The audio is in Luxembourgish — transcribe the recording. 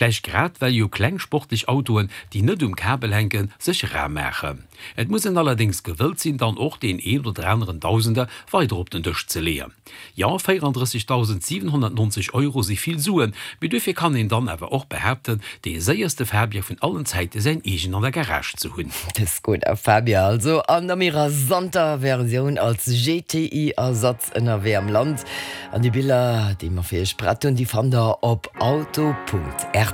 Vläicht grad well jo kleng sportlech Autoen, déi net um Kabel hänken, sech rar maachen. Et muss een allerdéngs gewëllt sinn, dann och deen een oder aneren Dausender weider op den Dësch ze leeën. Jo, 34.790 Euro si vill Suen, mee duerfir kann een dann awer och behaapten, dee séierste Fabia vun allen Zäite säin eegen an der Garage ze hunn. De Skoda Fabia also an der méi rasanter Versioun als GTI-Ersatz ënnerwee am Land. An déi Biller, déi mer fir iech prett hunn, déi fannt der op auto.rtl.lu.